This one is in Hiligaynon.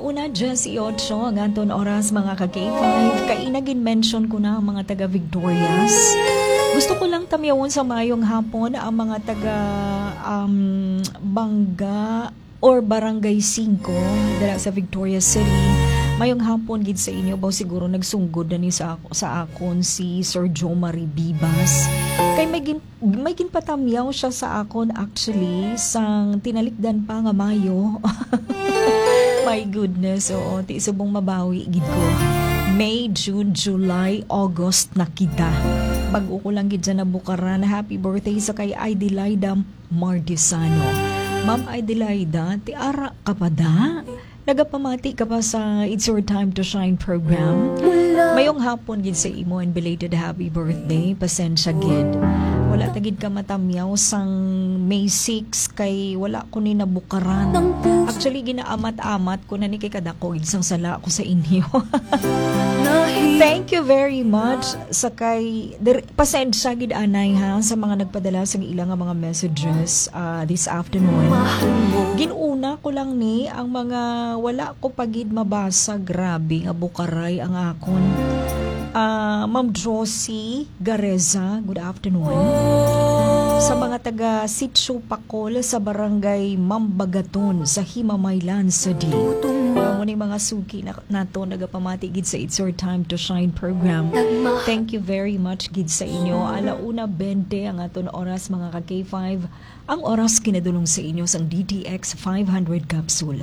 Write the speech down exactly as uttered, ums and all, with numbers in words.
Una, diyes y ocho ang aton oras, mga ka-K five. Kaina gin-mention ko na ang mga taga Victorias. Gusto ko lang tamyawon sa mayong hapon ang mga taga, um, Bangga or Barangay Singko dira sa Victorias City. Mayong hapon gid sa inyo. Baw siguro nagsunggod na ni sa, sa akon si Sir Joe Marie Bibas. Kay may gin-, may ginpatamyaw siya sa akon, actually, sang tinalikdan pa nga Mayo. My goodness, oo, ti subong mabawi gid ko. May, June, July, August na kita. Bag-o ko lang gid dyan nabukaran. Happy birthday sa kay Adelaida Mardisano. Ma'am Adelaida, ti ara ka pa da? Nagapamati ka pa sa It's Your Time to Shine program? Mayong hapon gid sa imo and belated happy birthday. Pasensya gid. Wala ta gid ka matamyaw sang May six kay wala ko ni nabukaran. Actually, ginaamat-amat ko na ni kay kadako gid sang sala ko sa inyo. Thank you very much sa kay dir-, pasensya gid anay ha sa mga nagpadala sang ila nga mga messages, ah, this afternoon. Gin-una ko lang ni ang mga wala ko pa gid mabasa. Grabe nga bukaray ang akon. Ah, Ma'am Josie Gareza, good afternoon. Sa mga taga Sitio Pakol sa Barangay Mambagaton sa Himamaylan City. Amo ni mga suki na, nato nagapamati gid sa It's Your Time to Shine program. Thank you very much gid sa inyo. Ala una bente ang aton oras, mga ka-K five. Ang oras kinadulong sa inyo sang D T X five hundred capsule.